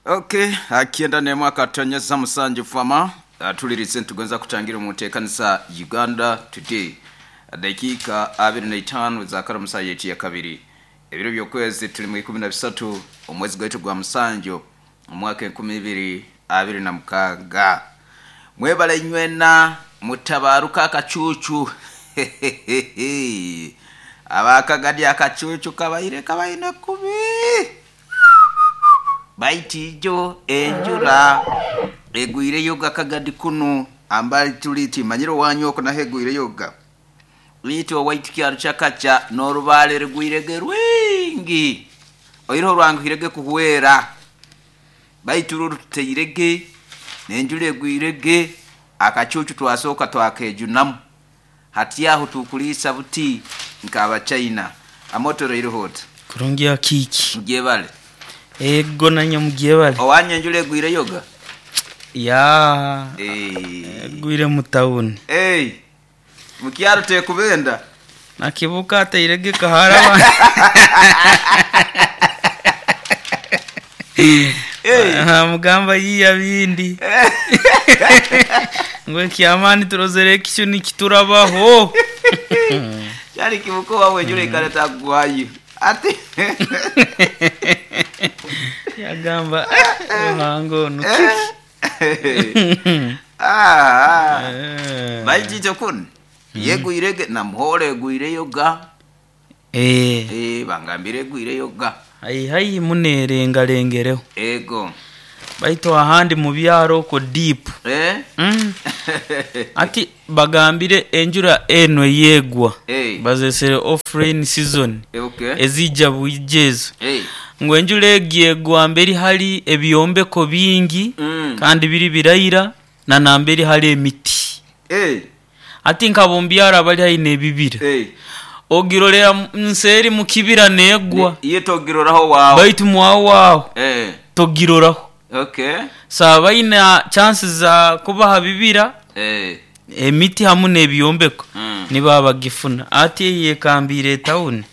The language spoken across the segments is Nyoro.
Okay, akienda nemwaka tonyeza musanju fama tulirize nitugonza kutangira mu nteekanisa Uganda Today, dakiika 25 za musa yetu ya kabiri, ebiro by'okwezi tuli mu 13 omwezi gwaitu gwa musanju omwaka 2026. Mwebale nywena mutabaruka akacucu abakagadi akacucu kabaire kabaine kubi baitijo enjura egwireyo gakagadi kunu ambali tuliti manyiro wanyu oko naho egwireyo ga liiti owaitu kyaro kyakaca n'orubaale rugwirege rwingi oireho rwanguhirege kuhwera baitu ruru tuteirege n'enjura egwirege akacucu twasooka twakejunamu hati aho tukuliisa buti nk'abachina amotoro ireho ota Kurungi akiki. mugyebale Ego nanye mugyebale. owanya enjura egwireyo ga Ya. Eh. Egwire mu tawuni. Hey, mukyaro tekubenda Nakibuka ateirege kahara. Hey. Aha, mugamba yiya bindi. Ngwe kyamani turozere ekyo nikiturabaho. Kyali kibuko wawe enjura ekaleta kugwayo ate Yagamba Ruhango ono. Ah, Eh. baijije kunu yegwirege namuhore egwireyo ga. Eh. Eh, bangambire egwireyo ga. Hai hai munerengalengereho. Ego. Baitu ahandi mu byaro okwo deep. Eh? Mm. Ati bagambire enjura eno yegwa Eh. bazesere off rain season Okay. ezija bwija ezo Eh. ngu enjura egi egwa mberi hali ebyombeko bingi kandi biri biraira na namberi hali emiti. Eh. Ati nkabo mubyaro abali haihi n'ebibira Eh. ogirorera nseeri mu kibira negwa Iye togiroraho wawe. baitu mwawo aho Eh. togiroraho. Okay. So baina chances za kuba ha bibira Eh. emiti hamu n'ebyombeko nibo bagifuna. Ati yekambire etawuni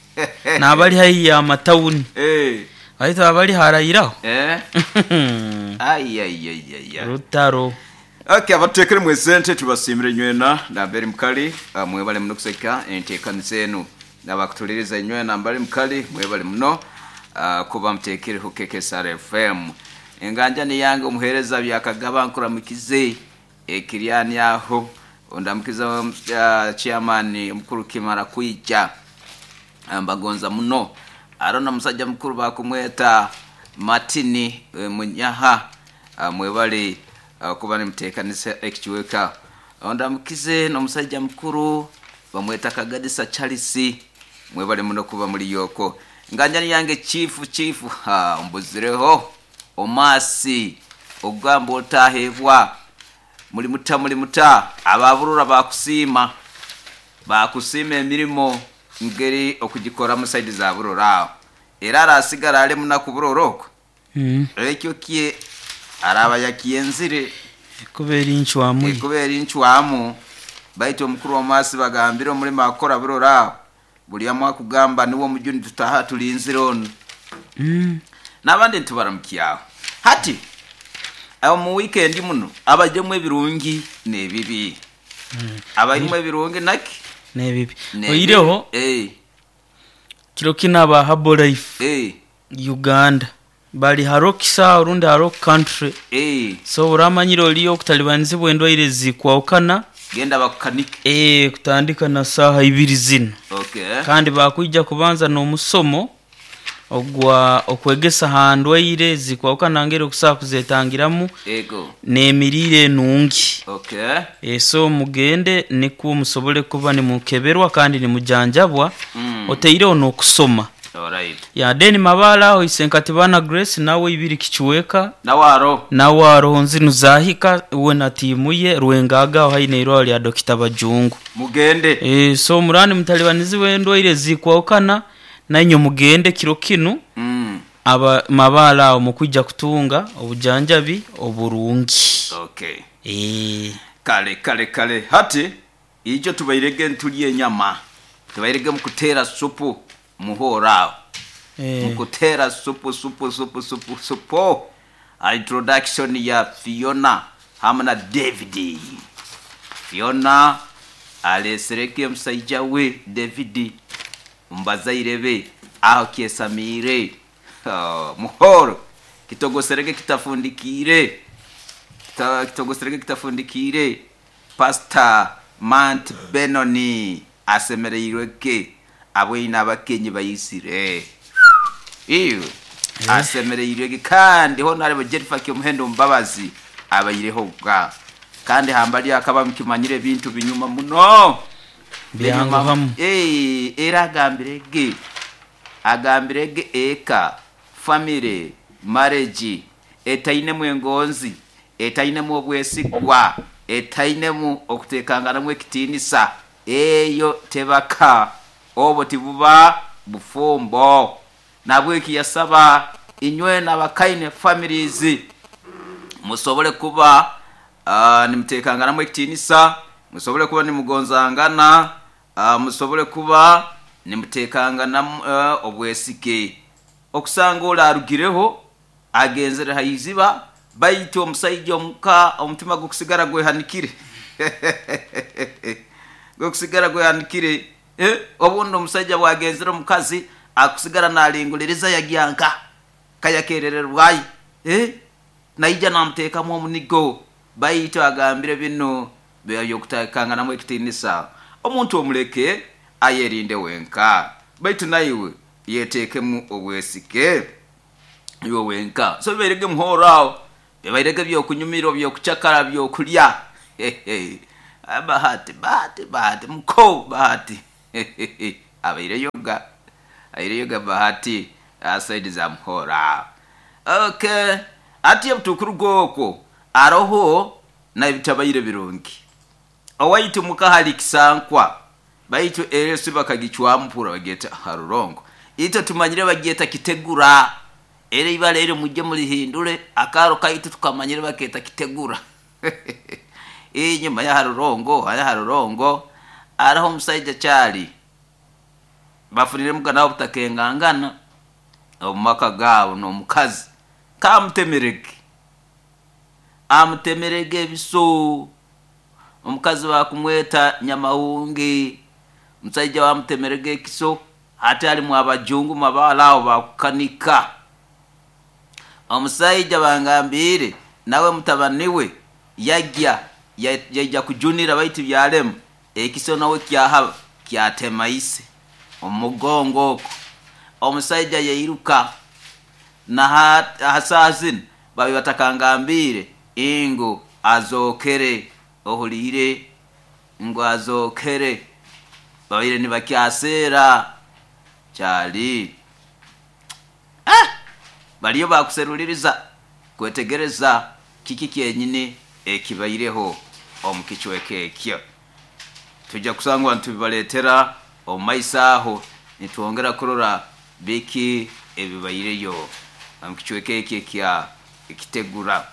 n'abali haihi y'amatawuni Eh. baitu abali harayiraho. Eh. Ai ai ai ai ai. Rutaro. Okay, abatekere mwesente tubasimire nywena namberi mukali mwebale muno kuseka enteekaniza enu n'abakutuliriza nywena mbali mukali mwebale muno kuba mutekere ku KKSR FM. Enganja ni yange omuheereza byakagaba nkuramukize ekiryani aho ondamukiza chairman omukuru Kimara kwija mbagonza muno arona musajja mukuru bakumweta Martini Munyaha mwebale kuba nimuteekanisa ekikiweka ondamukize n'omusajja mukuru bamweta Kagadisa Charles mwebale muno kuba muri yoko nganjani yange chifu chifu ha mbuzireho omasi ogamba otahebwa muli muta muli muta ababurura bakusiima bakusiima emirimo ngeri okugikora mu saidi za burora aho era arasigara ali munaku burora okwo ekyo kye araba yakyenzire Kubera encwamu ye. Kubera encwamu baitu omukuru w'omwasi bagambire omulimo akukora burora aho buli omu akugamba niwe omujuni tutaha tulinzire onu. N'abandi nitubaramukyaho hati omu weekend muno abajemu ebirungi n'ebibi abarimu ebirungi naki N'ebibi. N'ebibi. Oireho Eh. kiro kino aba Herbalife Eh. Uganda bali harokisa orundi harok country. Eh. So oramanyire oliyo okutalibanizibwa endwaire zikwahukana. Genda bakukanike. Eh, kutandika na saaha ibiri zino. Okay. Kandi bakwija kubanza n'omusomo ogwa okwegesa ha ndwaire zikwahukana ngeri okusobola kuzetangiramu Ego. n'emiriire enungi. Okay. So mugende nikwo musobole kuba nimukeberwa kandi nimujanjabwa oteireho n'okusoma. Alright. Ya then Mabala aho Isenkatibana Grace nawe ibiri kikiweka Nawaro. nawe aroho nzinu zahika we na tiimu ye Rwengaga aho haine irwaro lya Dokita Bajungu. Mugende. So murani mutalibanizi endwaire zikwahukana nainye mugende kiro kinu aba Mabala aho mukwija kutunga obujanjabi oburungi. Okay. Eh. Kale kale kale hati ijo tubairege ntulye enyama tubairege mukutera supu muhora aho. Eh. Mukutera supu supu supu supu supu. Introduction ya Fiona hamwe na David. Fiona alesereke omusaija we David mubazaire be aho kyesamiire. Oh, muhoro kitogosereke kitafundikiire. Kitogosereke kitafundikiire. Pastor Mant Benoni asemereirweke abweine abakenyi bayisire iwe asemereirweke. Kandi honorable Jennifer Kyomuhendo Mbabazi abaireho bwa kandi hambali akaba mukimanyire ebintu binyuma muno. Byanguhamu. Era agambirege agambirege eka family marriage etainemu engonzi, etainemu obwesigwa, etainemu okutekanganamu ekitiinisa, eyo tebaka, obwo tibuba bufumbo. Nabweki yasaba inywe n'abakaine families musobole kuba nimutekanganamu ekitiinisa, musobole kuba nimugonzangana, musobole kuba nimutekanganamu obwesige. Okusanga ole arugireho agenzere haiziba, baitu omusaija omuka omutima gukusigara gwehanikire gukusigara gwehanikire. Obundi omusaija bwagenzere omukazi akusigara nalinguliriza yagyanka kayakerererwayo, naija namuteekamu omunigo. Baitu agambire bino byokutekanganamu ekitiinisa, omuntu omuleke ayerinde wenka, baitu naiwe yeteekemu obwesige iwe wenka. So bibairege muhoro aho, bibairege byokunyumirwa, byokucakara, byokulya. Bahati Bahati Bahati muko Bahati abaireyoga aireyoga Bahati saidi za muhoro. Okay, ati obutukuruga okwo aroho nabitabaire birungi. Owaitu muka hali kisankwa, baitu eresi bakagicwampura bageta harurongo. Itwe tumanyire bagyeta kitegura, era ibara eryo mujye murihindure, akaro kaitu tukamanyire baketa kitegura. Enyuma ya harurongo, haya harurongo araho omusaija kyali bafunire mugana obutakengangana omu maka gaabo n'omukazi kamutemerege, amutemerege ebiso. Omukazi bakumweta Nyamahungi, omusaija bamutemerege ekiso, ate alimu abajungu mabaala aho bakukanika. Omusaija bangambiire nawe mutabani we yajya yaija kujunira, baitu byalema ekiso nawe kyahaba kyatema ise omugongo okwo. Omusaija yairuka na ha zinu babi batakangambiire ingu azokere, ohuliire ngu azokere, babaire nibakyaseera kyali. Baliyo bakuseruliriza kwetegereza kiki kyenyini ekibaireho omu kicweka ekyo. Tujja kusangwa nitubibaleetera omu maiso aho, nitwongera kurora biki ebibaireyo omu kicweka ekyo ekya Kitegura.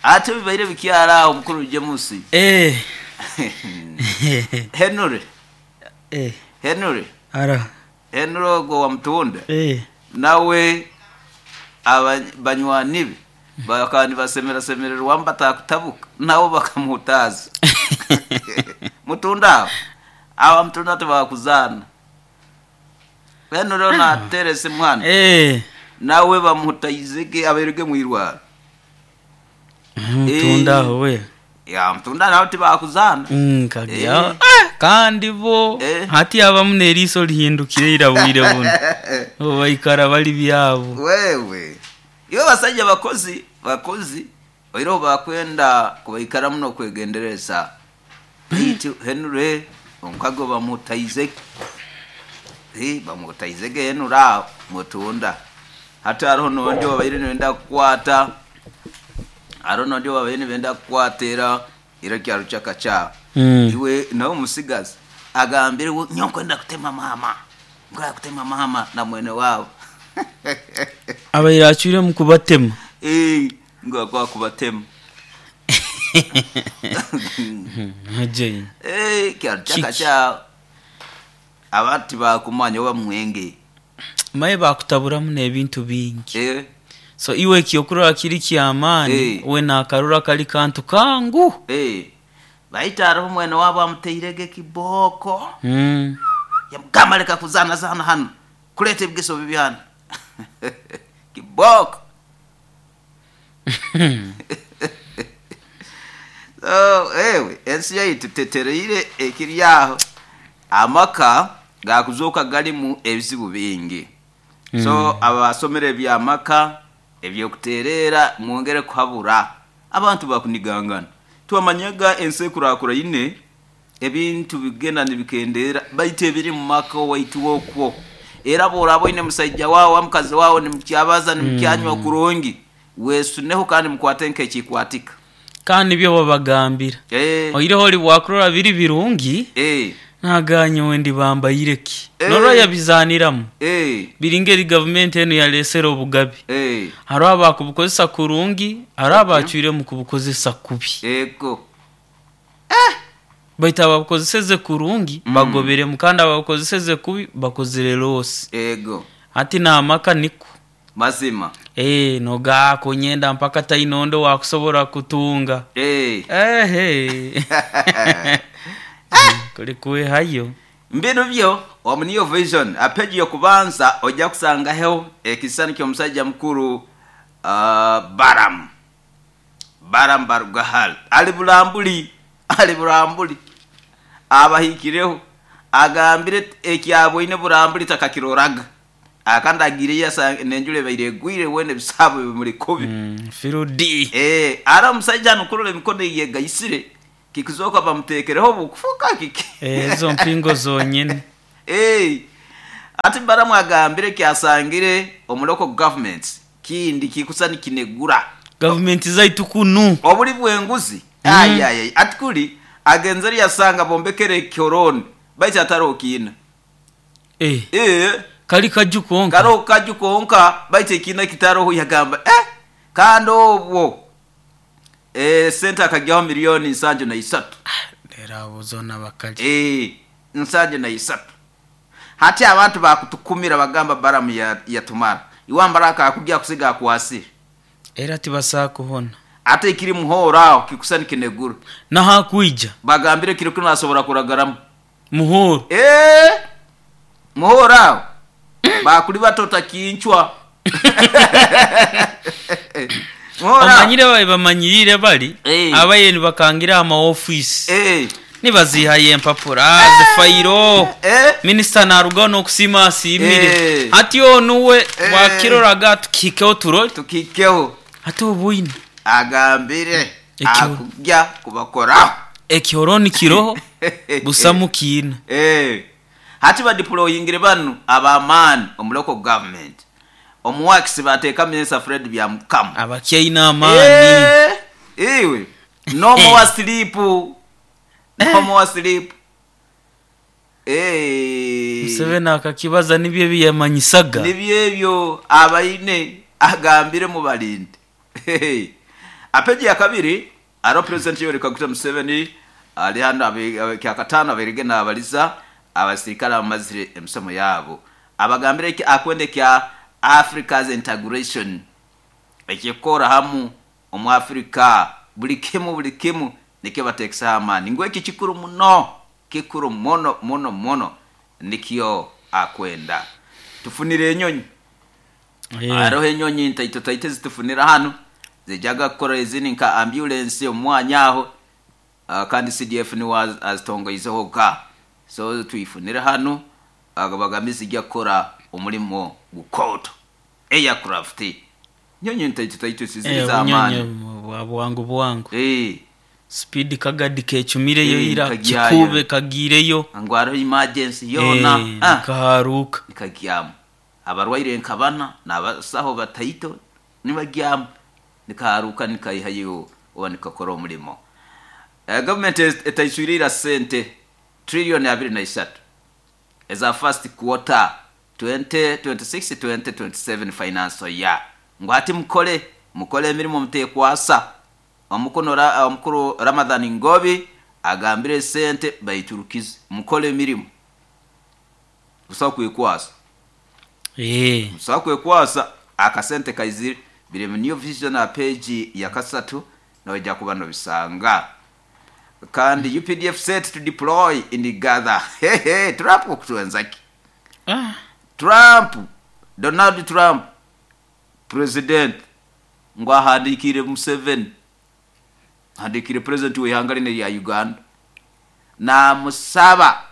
Ate bibaire bikyali aho mukulu James. Henry. Henry. Henry ogwo wa Mutunda nawe banywani be bakaba nibasemerasemererwamu batakutabuka, nabo bakamuhutaaza. Mutunda aho, aba Mutunda tibakuzaana. Henry ono ateera esimu hanu, nawe bamuhutaizege abairege mwirwaro. Mutunda aho we. Ya Mutunda nabo tibakuzaana. Kagya. Kandi bo hati abamu n'eriiso lihindukire ira bwire buno. Bo baikara bali byabo. Wewe iwe basaija bakozi bakozi oireho bakwenda kubaikaramu n'okwegendereza. Baitu Henry omukago bamuhutaizege, bamuhutaizege Henry aho Mutunda. Hati hariho n'ondi obabaire nibenda kukwata, hariho n'ondi obabaire nibenda kukwata era era kyarukyaka kyaho. Iwe nawe omusigazi agambire nyowe nkwenda kutema maama, nkwenda kutema maama na mwene waabo. Abaire acwiremu kubatema. Ngu akwenda kubatema. Kyarukyaka kyaho abantu tibakumanya oba mwenge. Maye bakutaburamu n'ebintu bingi. So iwe ekyokurora kiri kyamaani, we nakarora kali kantu kangu. Baitu hariho mwene waabo amuteirege kibooko. Yamugamba leka kuzaanazaana hanu, kuleeta ebigeso bibi hanu. Kibooko. So ewe ensi yaitu tetereire ekiri aho. Amaka gakuzooka garimu ebizibu bingi. So abasomere eby'amaka, ebyokutereera, mwongere kuhabura. Abantu bakunigangana. Twamanyaga ensi ekurakuraine, ebintu bigenda nibikendeera, baitu ebiri mu maka owaitu okwo. Era bw'oraba oine musaija waawe oba mukazi waawe nimukyabaza, nimukyanywa kurungi, weesuneho kandi mukwate nk'ekikwatika. Kandi nibyo babagambira. Oihireho oli bwakurora biri birungi, nagamba nyowe ndibambaire ki? Norora yabizaaniramu. Biri ngeri gavumenti enu yaleesere obugabe. Hariho abakubukozesa kurungi, hariho abacwiremu kubukozesa kubi. Baitu ababukozeseze kurungi bagoberemu, kandi ababukozeseze kubi bakozere loosi. Hati n'amaka nikwo. Mazima. Noga kunyenda mpaka taine ondi owakusobora kutunga. Ehe. Kuli kwehayo. Mbinu byo omu New Vision ha peji y'okubanza ojja kusangaho ekisisani ky'omusaija mukuru Balaam. Balaam Barugahara ali Bulambuli, ali Bulambuli abahikireho agambire ekyaboine Bulambuli takakiroraga. Kandi agiireyo asanga n'enjura ebaire egwire weena ebisaabo bimuri kubi. Firudi. Ara omusaija hanu kurora emikono ei yegaisire, kikuzooka bamuteekereho bukufuka kiki? Ezo mpingo zonyene. Hati Balamu agambire eki asangire omu local governments kindi kikusa nikinegura. Gavumenti zaitu kunu. Obuli bw'enguzi. Ayayay ati kuri agenzere yasanga bombekere ekyorooni baitu hataroho kiina. Kali kaju konka. Karoho kaju konka baitu ekiina kitaroho yagamba kandi obwo sente akagyaho milioni 73. Lero abo zoona bakali. 73. Hati abantu bakutukumira bagamba Balamu yatumara. Iwe ambara akakugya kusiga akwasire. Era tibasobola kuhona. Ate ekiri muhooro aho kikusa nikinegura. Nahakwija. Bagambire kiro kinu asobora kuragaramu. Muhooro. Muhooro aho. Bakuli batota kincwa. Muhooro aho. Omanyire babe bamanyirire bali abaye nibakangira amaofiisi. Nibazihayo empapura, zifairo. Minisita narugaho n'okusiima asiimire. Hati onu we bwakiroraga tukihikeho turole. Tukihikeho. Hati obwine. Agambire akugya kubakoraho. Ekyorooni kiroho busamu kiina. Hati badeployingire banu ab'amaani omu local government. Omu works bateeka Minisita Fred Byamukama. Abakyaine amaani. Iwe n'omuwa sleep. N'omuwa sleep. Museveni akakibaza nibyo ebi yamanyisaga. Nibyo ebyo abaine agambire mubalinde. Apeji ya kabiri hariho President Yoweri Kaguta Museveni ari hanu kyakataano abairege naabariza abasirikare abamazire emisomo yaabo. Abagambire eki akwenda ekya Africa's integration eky'okukora hamu omu Africa buri kimu buri kimu nikyo bateekiseho amaani ngu eki kikuru muno, kikuru muno muno muno nikyo akwenda. Tufunire enyonyi. Hariho enyonyi ntaito taito ezitufunira hanu zijaga kukora ezindi nka ambulance omu mwanya aho kandi CDF niwe azitongoizeho ka. So twifunire hanu bagambe zijja kukora omurimo gukooto. Aircraft. Nyonyi ntaito taito ziri z'amaani. Bwa bwangu bwangu. Speed kagadi kecumireyo ira kikuube kagiireyo. Ngu hariho emergency yoona. Nikaharuuka. Nikagyamu. Abarwaire nka bana n'abasaho bataito nibagyamu. Nikaharuuka nikaihayo oba nikakora omurimo. Gavumenti etaiswire ira sente trillioni 23 eza first quarter 2026-2027 financial year. Ngu hati mukore, mukore emirimo mutekwasa. Omukuru Ramadhan Ngobi agambire sente baiturukize. Mukore emirimo. Busaho kwekwasa. Busaho kwekwasa akasente kaizire. Biri mu New Vision ha page ya kasatu, noija kuba nobisanga. Kandi UPDF set to deploy in Gaza. Hehe, Trump okutwenza ki? Trump, Donald Trump, president, ngu ahandiikire Museveni, ahandiikire president w'ihanga linu erya Uganda, naamusaba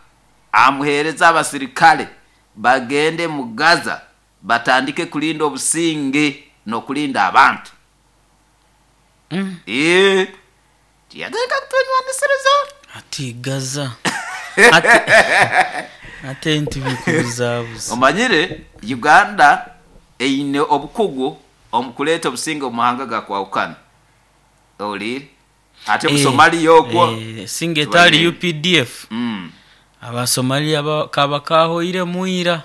amuheereze abasirikale bagende mu Gaza batandike kulinda obusinge n'okulinda abantu. Tiyagenda kutwenywanisiriza. Ati Gaza ate nti bikubuzabuza. Omanyire Uganda eine obukugu omu kuleeta obusinge omu mahanga gakwahukana. Owulire? Ate mu Somalia okwo Singa etali UPDF, Abasomalia kaba kahoiremu ira.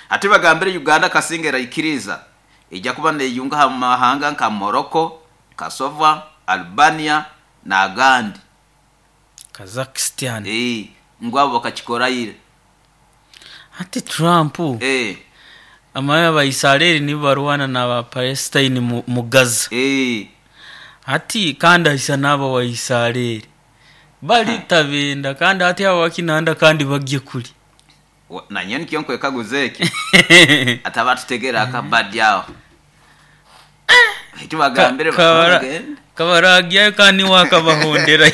Ate bagambire Uganda kasinga eraikiriza eija kuba neyunga ha mahanga nka Morocco, Kosovo, Albania n'agandi. Kazakhstan. Ngu abo bakakikora ira. Hati Trump, amanye Abaisareri nibo barwana n'aba Palestine mu Gaza. Hati kandi aisa n'aba wa Isareri. Bali tabenda kandi hati abo bakinanda kandi bagye kuli. Nanye nikyo nkwekaguza eki. Ati abatutegera akabadi aho. Eki bagambire bagende. Kabaragyayo kandi niwe akabahonderayo.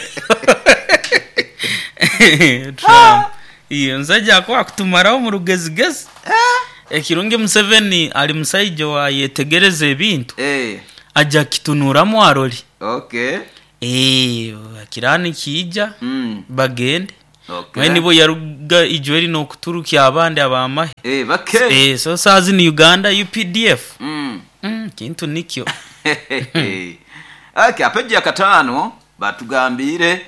Trump. Iyo nsaija akuba kutumaraho mu rugezigezi. Ekirungi Museveni ali musaija owayetegereza ebintu. Aja kitunuramu arole. Kirani kiija bagende. Mwe nibo yaruga ijweri n'okuturukya abandi abamahe. Bake. So saazi ni Uganda UPDF. Kintu nikyo. Okay, apeji ya katano batugambire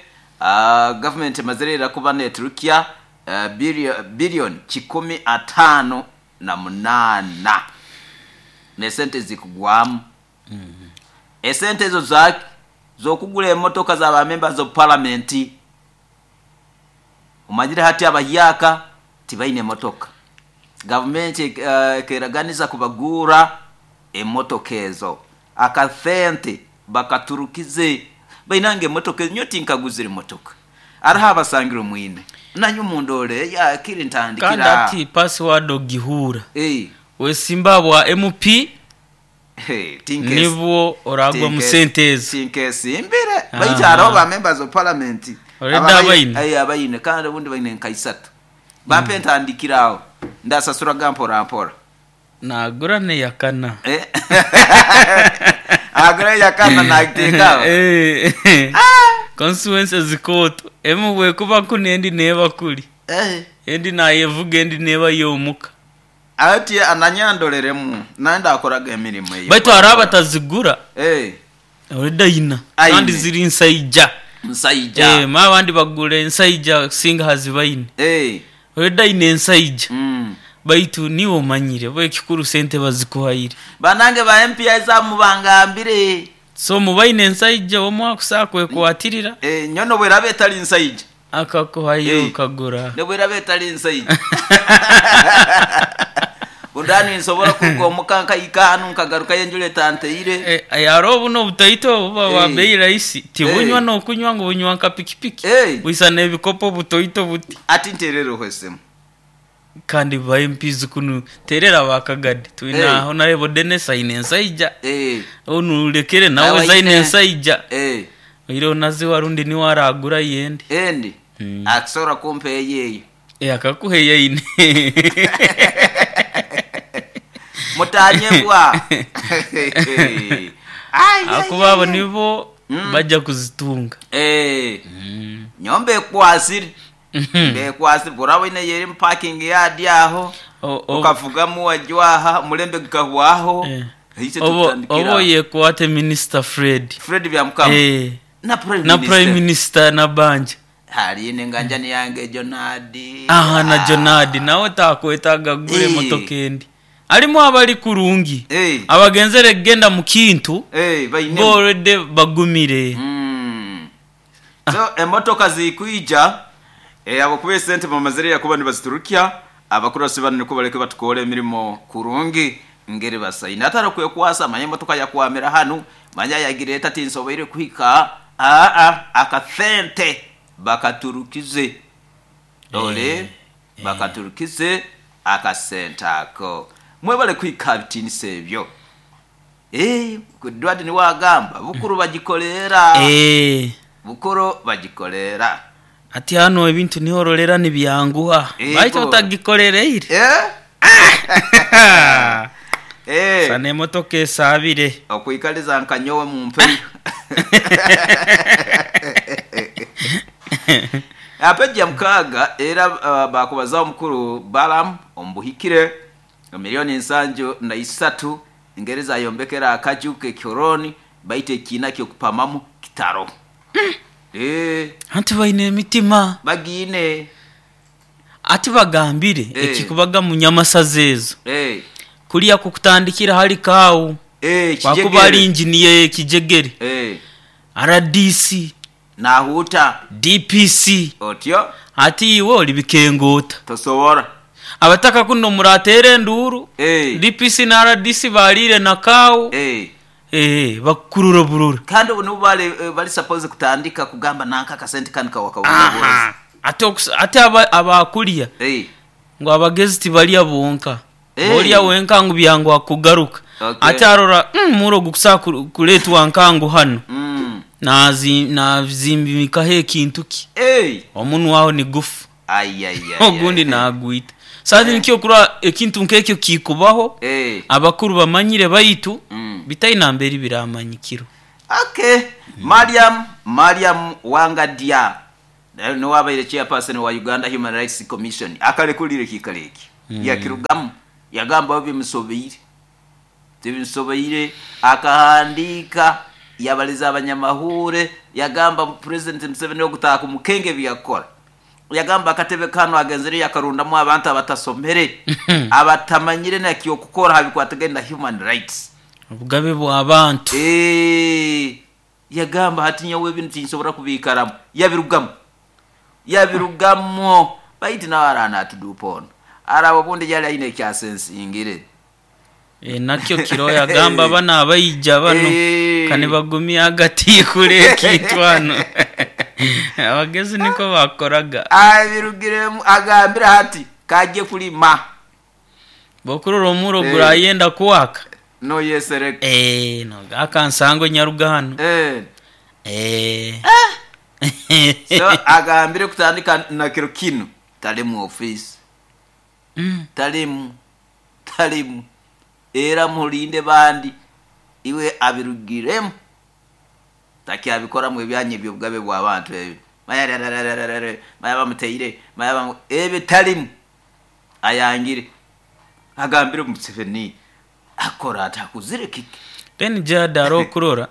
government emazire kuba neturukya bilioni 158 nesente zikugwamu. Esente ezo zaki zokugula emotoka za ba members of parliament. Omanyire hati abahyaka tibaine emotoka. Government ekeraganiza kubagura emotoka ezo. Akasente bakaturukize bainange emotoka nyo tinkaguzire emotoka. Araho abasangire omwine. Nanyo mundore ya kiri ntandikira. Kandi ati password ogihura. Wesimba bwa MP nibwo oragwa mu sente ezo. Tinkesimbire. Baitu hariho ba members of parliament. Already abaine. Abaine kandi obundi baine nka isatu. Bampe ntandikira aho. Ndasasura mpora mpora. Nagura neyakana. Agura yakana nagiteka. Constituencies zikoto. Emu bwekuba kuni endi neba kuli. Endi nayevuga endi neba yomuka. Ati ananyandoreremu nanda akoraga emirimo eyo. Baitu hari abatazigura. Already ayina. Kandi ziri nsaija. Nsaija. Ma abandi bagura ensaija singa hazibaine. Already ayina ensaija. Baitu niwe omanyire bo ekikuru sente bazikuhaire. Banange ba MPI za mubangambire. So mubaine ensaija omwe akusaa kwekwatirira. Nyono bwerabe etali nsaija. Akakuhayo ukagura. Nebwerabe etali nsaija. Undani nsobora kugomoka nkaika nkagaruka yenjule tanteire. Yaro buno butaito buba wa bei rahisi. Tibunywa no kunywa ngo bunywa nka pikipiki. Buisa n'ebikopo butoito buti. Ati nterero hwesemu. Kandi ba MPs kunu terera bakagadi. Twina Honorable Dennis aine ensaija. Onu lekere nawe zaine ensaija. Oiro nazi warundi ni waragura yendi. Endi. Akusora kumpe yeye. Akakuhe yeine. Mutanyebwa. Akuba abo nibo bajja kuzitunga. Nyombe kwasiri. Bekwasiri burabo ine yeri parking yard aho. Ukavugamu wajwaha mulembe gukahwaho. Obo yekwate Minister Fred. Fred Byamukama. Na Prime na Prime Minister na Banja. Hari nenganjani yange Jonadi. Aha na Jonadi nawe takwetaga gure motoka endi. Alimu abali kurungi. Abagenzere genda mu kintu. Already bagumire. So emotoka zikuija abo kuba sente bamazire yakuba nibaziturukia abakurasi bano niko bareke batukore emirimo kurungi. Ngeri basaine atari kwekwasa, manya emotoka yakwamira hanu, manya yagireeta tinsoboire kuhika. Aa, akasente bakaturukize ole bakaturukize akasente ako. Mwebale kuhika bitiinisa ebyo. Edward niwe agamba Bukuru bagikolera. Bukuru bagikolera. Ati hanu ebintu niho ororera nibyanguha. Baitu otagikolereire. Sana emotoka esaabire. Okwikaliza nka nyowe mumpeyo. Aha peji ya 6 era bakubazaho omukuru Balaam omu buhikire milioni 73 engeri zayombekere akaju k'ekihoronio baitu ekiina ky'okupamamu kitaro. Anti baine emitima. Bagiine. Ati bagambire ekikubaga mu nyamasaza ezo. Kuliya kukutandikira hali Kaawu, wakuba ali inginiya ey'ekijegere, rdc, Nahuuta. DPC. Otyo. Ati iwe oli bikengoota. Tosobora. Abataka kunu murateera enduuru, DPC na rdc baliire na Kaawu, bakukurura burura. Kandi obu nibo bali suppose kutandika kugamba nanka akasente kanu kawakawuza. Ate abakulya ngu abagezi tibalya bonka. Olya wenka ngu byanguha kugaruka. Ate arora omuro ogukusobola kuleetwa nkangu hanu, nazimbikaho ekintu ki, omunwa aho nigufa, ogundi nagwita. Saaha nikyo okurora ekintu nk'ekyo kikubaho, abakuru bamanyire baitu bitaine mberi biramanyikirwa. Okay. Mariam Mariam Wangadya niwe abaire chairperson wa Uganda Human Rights Commission akarekurira ekiikaro eki yakirugamu yagamba bimusobeire tibimusobeire akahandiika yabaliza abanyamahure yagamba President Museveni ogutaaha kumukenge ebi yakukora yagamba akatebe kanu agenzere yakarundamu abantu abatasomere abatamanyire nakyokukora ha bikwatagaine na human rights. Obugabe bw'abantu. Yagamba hati nyowe binu tinsobora kubiikaramu yabirugamu yabirugamu baitu nawe araaba natuduupa onu araba obundi yali aine ekyasensingire. Nakyo kiro yagamba bano abaija bano kanibagumya agatiikura ekintu hanu. Abagezi niko bakoraga. Abirugiremu agambire hati kajye kulima. Bw'okurora omuro gurayenda kuwaka. Noyesereka. Akansango nyaruga hanu. So agambire kutandika na kiro kinu talimu office. Talimu talimu era mulinde bandi iwe abirugiremu takyabikoramu ebyanya eby'obugabe bw'abantu ebyo maya bamuteire maya ebyo talimu ayangire agambire Museveni akora atakuzire kiki. Then Jada arokurora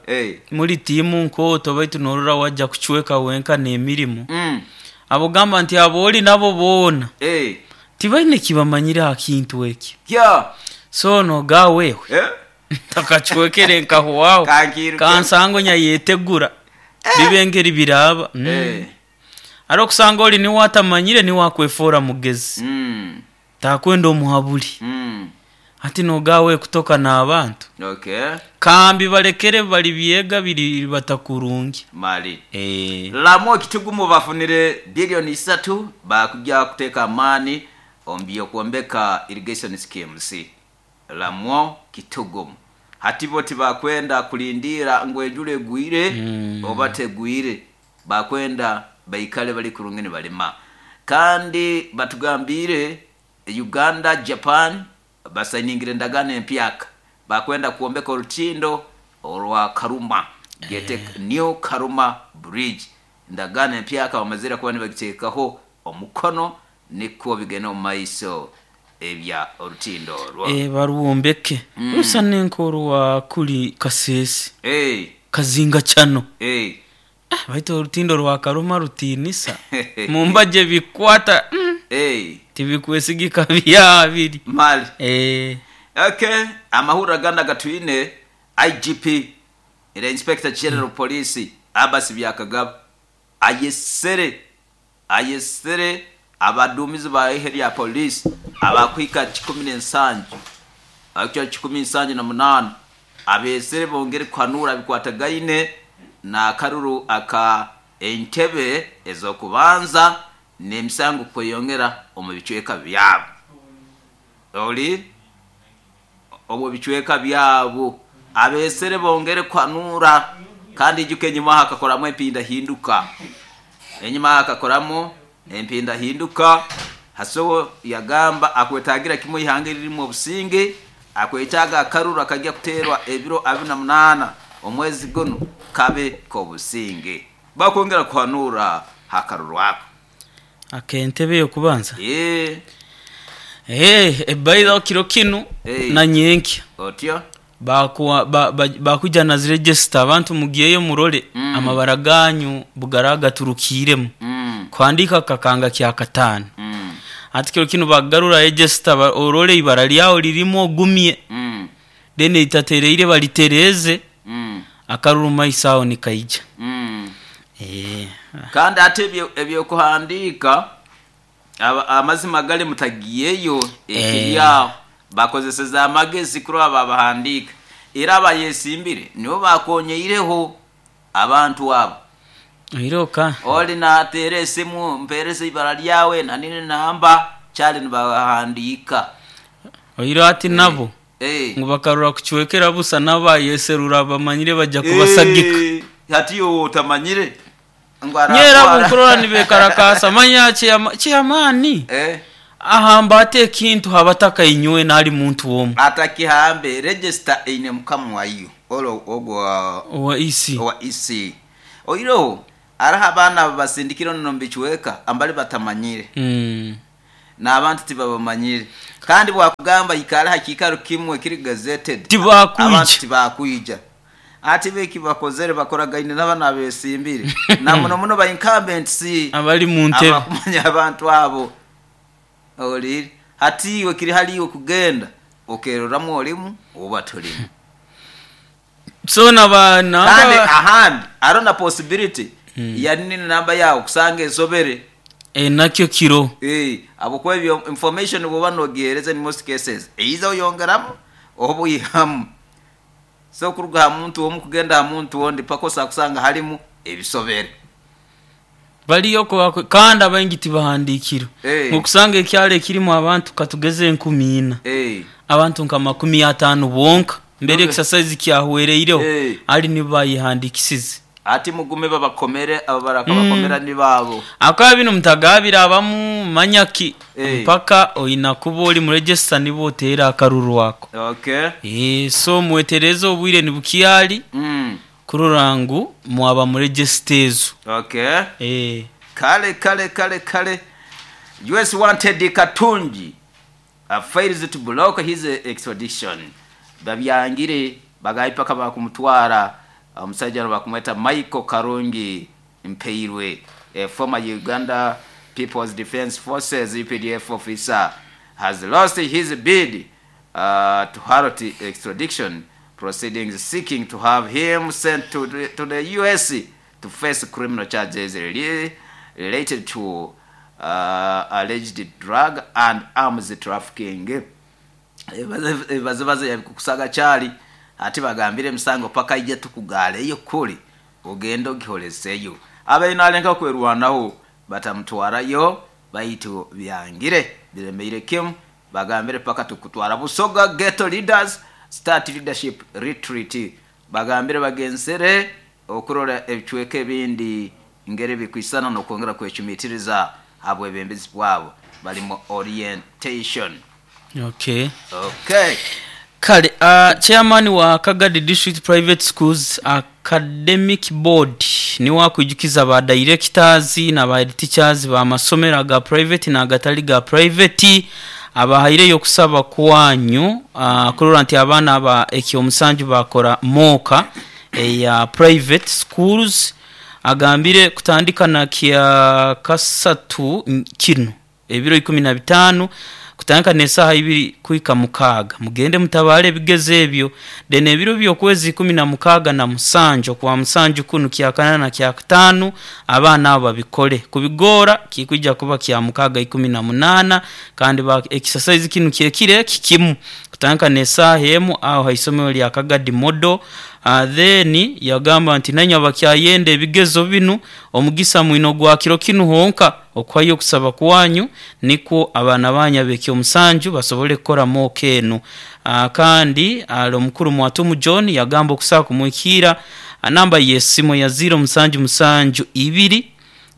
muri tiimu nkooto baitu norora wajja kucweka wenka n'emirimo. Abogamba nti abo ori nabo boona tibaine kibamanyire aha kintu ekyo. So noga wewe takacwekere nkahwaho kansango nyayetegura bibe ngeri biraba. Ari okusanga ori niwe atamanyire niwe akwefora mugezi. Takwenda omuhaburi. Ati nogawe kutoka n'abantu. Kambi balekere bali byega biri batakurungi. Mali. Lamo Kitugumu bafunire bilioni 3 bakujja kuteeka amaani omu by'okwombeka irrigation schemes. Lamwo Kitugumu. Hati bo tibakwenda kulindira ngu enjura egwire oba tegwire, bakwenda baikale bali kurungi nibalima. Kandi batugambire Uganda Japan basainingire endagaano empyaka bakwenda kwombeka orutindo orwa Karuma gete New Karuma Bridge. Endagaano empyaka bamazire kuba nibagiteekaho omukono nikwo bigenda omu maiso ebya orutindo orwo. Barwombeke. Rusa n'enkoru kuri Kasese. Kazinga chano. Baitu orutindo rwa Karuma rutiinisa. Mumbaje bikwata. Tibikwesigika byabiri. Mali. Okay, amahuriro agandi agatwine IGP era Inspector General Police Abbas Byakagaba ayesere abaduumizi ba ihe lya police abakuhika 17 Ekicweka 178 abeesere bongere kuhanura bikwatagaine n'akaruru aka entebe ez'okubanza n'emisango kweyongera omu bicweka byabo. Oli omu bicweka byabo abeesere bongere kuhanura, kandi ijuka enyuma hakakoramu empindahinduka, enyuma hakakoramu empindahinduka. Hasobo yagamba akwetagira kimwe ihanga eririmu obusinge, akwetaaga akaruru akajya kuteerwa ebiro 28 omwezi guno kabe k'obusinge. Bakwongera kuhanura hakaruru ako. Ak'entebe y'okubanza? Eeh, ebaidha kiro kinu na nyenkya. Otyo? Baakwija na zi regisita, abantu mugyeyo murole amabara ganyu bwegaraaba gaturukiiremu. Kuhandiika kakanga kyakataano. Hati kiro kinu baakugarura regisita orole eibara lyawe lirimu ogumye. Then eritatereire balitereeze, akaruru mumaiso agho nikaija. Kandi ati eby'okuhandiika amazima gali mutagiyeyo ekiri aho bakozeseze amagezi kurora babahandiika, era abayesimbire nibo bakonyeireho abantu abo. Oiroka. Oli nateera esimu, mpereza ibara lyawe na nini namba, kyali nibahandiika. Oiro ati nabo ngu bakarora kucwekera busa n'abayeserura bamanyire baja kubasagika. Hati iwe otamanyire ngu Nyowe era aratwara. Obu nkurora nibekarakaasa manya chairman ahamba ata ekintu ha bataka inywena ali muntu omu. Atakihambe, register eine mukama wayo ole ogwo Owa EC. Owa EC. Oihireho hariho abaana ababasindikire omu bicweka ambali batamanyire. N'abantu tibabamanyire. Kandi bwakugamba ikara ha kiikaro kimwe kiri gazetted, Tibakwija. Abantu tibakwija. Hati bo eki bakozere bakoragaine n'abanu abesimbire na muno muno ba incumbents Abali mu ntebe. Abakumanya abantu abo. Ohuriire? Hati iwe kiri hali iwe kugenda okeroramu orimu oba torimu. So na ba Kandi namba ahandi hariho na possibility ya nini namba yaawe kusanga esobere. Nakyo kiro. Habwokuba ebyo information bwoba nogihereza in most cases either oyongeramu oba oihamu. So kuruga ha muntu omu kugenda ha muntu ondi paka osobola kusanga harimu ebisobere. Baliyo kandi abaingi tibahandiikirwe. Okusanga ekyaro ekirimu abantu katugeze enkumi ina, abantu nka makumi ataanu bonka mbere exercise kyahwereireho ali nibo bayehandikisize. Ati mugume babakomere, abo barakabakomera ni baabo. Ahakuba binu mutagaabire abamu manya ki mpaka oina kuba ori mu register nibwo oteera akaruru ako. So mwetereeze obwire nibukyali kurora ngu mwaba mu register ezo. Kale kale kale kale US wanted Katungi fails to block his extradition. Babyangire bagabi paka bakumutwara. Omusaija onu bakumweta Michael Karungi Mpeirwe, a former Uganda People's Defence Forces, UPDF, officer has lost his bid to halt extradition proceedings seeking to have him sent to the, to the US to face criminal charges related to alleged drug and arms trafficking. Ebibazibazi yabikukusaga kyali ati bagambire emisango paka ije tukugaaleyo kuli ogende ogiholeseyo. Abaire nalengaho kwerwanaho batamutwarayo baitu byangire biremeire kimu bagambire paka tukutwara. Busoga Ghetto Leaders Start Leadership Retreat bagambire bagenzere okurora ebicweka ebindi ngeri bikwisana n'okwongera kwecumitiriza ha bwebembezi bwabo bali mu orientation. Okay. Okay. Kale Chairman wa Kagadi District Private Schools Academic Board ni wakwijukiza ba Directors na ba Head Teachers ba masomero aga private na agatali ga private abahaireyo okusaba kwanyu kurora nti abaana aba ekyomusanju bakora mooka eya private schools. Agambire kutandika na kyakasatu kinu ebiro 15. Kutandika n'esaaha 2 kuhika 6. Mugende mutabale ebigezo ebyo. Then ebiro by'okwezi 16 na 7 okwa 7 kunu kyakana na kyakataano abaana abo babikole. Kubigoora kikwija kuba kya 6 18 kandi exercise kinu kyekiro eki kimu kutandika n'esaaha 1 aho haisomero lya Kagadi Model. Then yagamba nti nainywe abakyayenda ebigezo binu omugisa mwine ogwa kiro kinu honka okuhayo okusaba kwanyu nikwo abaana banyu ab'ekyomusanju basobole kukora mock enu. Kandi ali omukuru Mwatumu John yagamba okusobola kumuhikiira namba y'esimu ya 077 2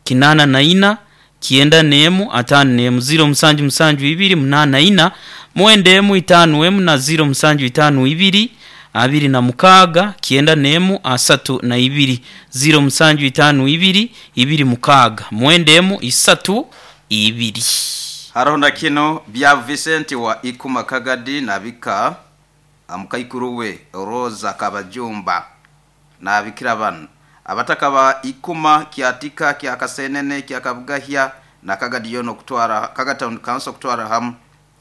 84 91 51 077 2 84 91 51 na 0752 26 91 32 0752 26 91 32. Haroho na kino bya Vincent wa Ikuma Kagadi nabika mukaikuru we Rosa Kabajumba nabikira bano abataka ba Ikuma Kyatika kya Kasenene kya Kabugahya na Kagadi yono kutwara Kaga Town Council kutwara hamu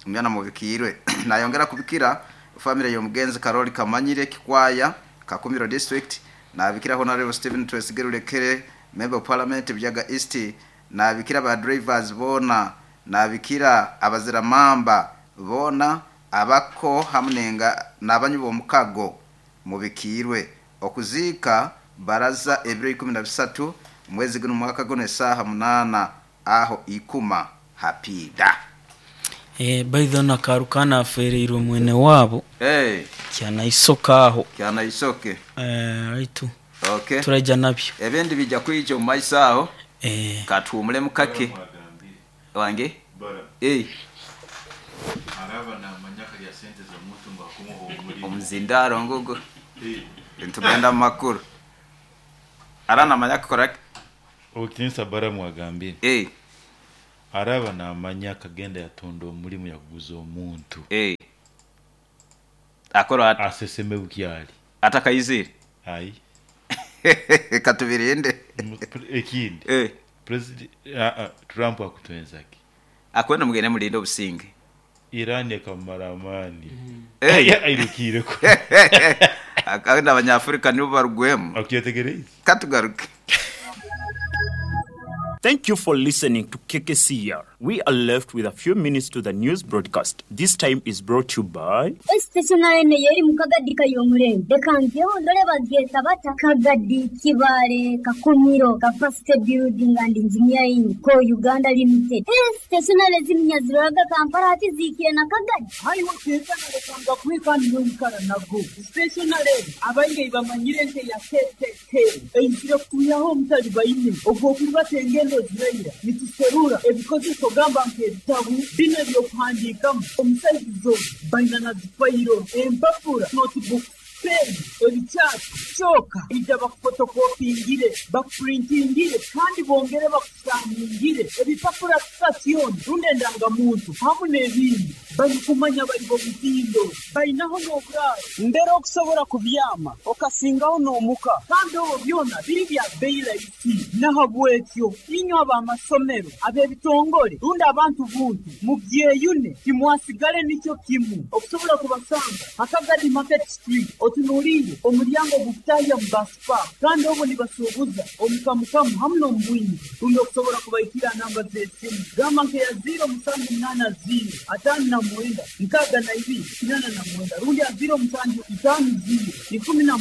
myana mubikirwe. Nayongera kubikira family y'omugenzi Karoli Kamanyire Kikwaya Kakumiro District, nabikira Honorable Stephen Twesigerulekere Member of Parliament Byaga East, nabikira ba drivers bona, nabikira abaziramamba bona abako hamunenga nabanyu bomukago mubikirwe. Okuziika baraza ebiro 13 mwezi guno mwaka guno esaha 8 aho Ikuma hapida. Baidho na karukana afereirwe mwene wabo. Kyanaisoka aho. Kyanaisoke. Aitu. Okay. Turaija nabyo. Ebindi bija kwija omu maiso aho. Katuhumule mukake. Wange? Bara. Araba namanya kalya sente z'omuntu ngu akumuha omulimo. Omuzindaro ngugo. Ntugenda mu makuru. Ara namanya kukora ki? Obukinisa bara mwagambire. Araba namanya akagenda yatunda omulimu yakuguza omuntu. Akora ati aseseme bukyali. Atakayizire. Ai. Katubirinde. Ekindi. President Trump akutwenzaki. Akwenda mugende mulinde obusinge. Iran ekamara amani. Airukire ko. Akagenda abanyafrika nibo barugwemu. Akyetegereze. Katugaruke. Thank you for listening to KKCR. We are left with a few minutes to the news broadcast. This time is brought to you by Stationary yeri mukagadi kayomurembe dekanzeho ndore bagyeta bata Kagadi Kibale Kakumiro Capacity Building and Engineering ko Uganda Limited. Stationary ziminyaziraga Kampala ati zikiye na Kagadi. Haiwo stationary kanga kwikani yoikara nago. Stationary abainge bamanyire nte ya KKK. Einzire kuyaho mutali bayine ogwo kubatenge engendo zirayira nituserura ebikozeso gamba nk'ebitabu bino ebyokuhandiikamu omusaizizo baina na zifayiro empapura notebook pen ebikyapa kyoka ija bakufotokopingire bakupurintingire kandi bongere bakusaningire ebipapura sitasioni rundi endangamuntu hamu n'ebindi barikumanya bari bomutindo bainaho n'oburaaro mbere okusobora kubyama okasingaho n'omuka kandi obwo byona biri bya beyi rahisi nahabwekyo inywe ab'amasomero ab'ebitongore rundi abantu buntu mubyeyune timwasigale nikyo kimu okusobola kubasanga Akagadi Market Street otunuulire omulyango gukutahya mu basipa kandi obwo nibasuubuza omukamukamu hamu n'omubwingi rundi okusobola kubaikira namba z'esimu gamba nkeya 0780 59 62 89 rundi ya 0750 16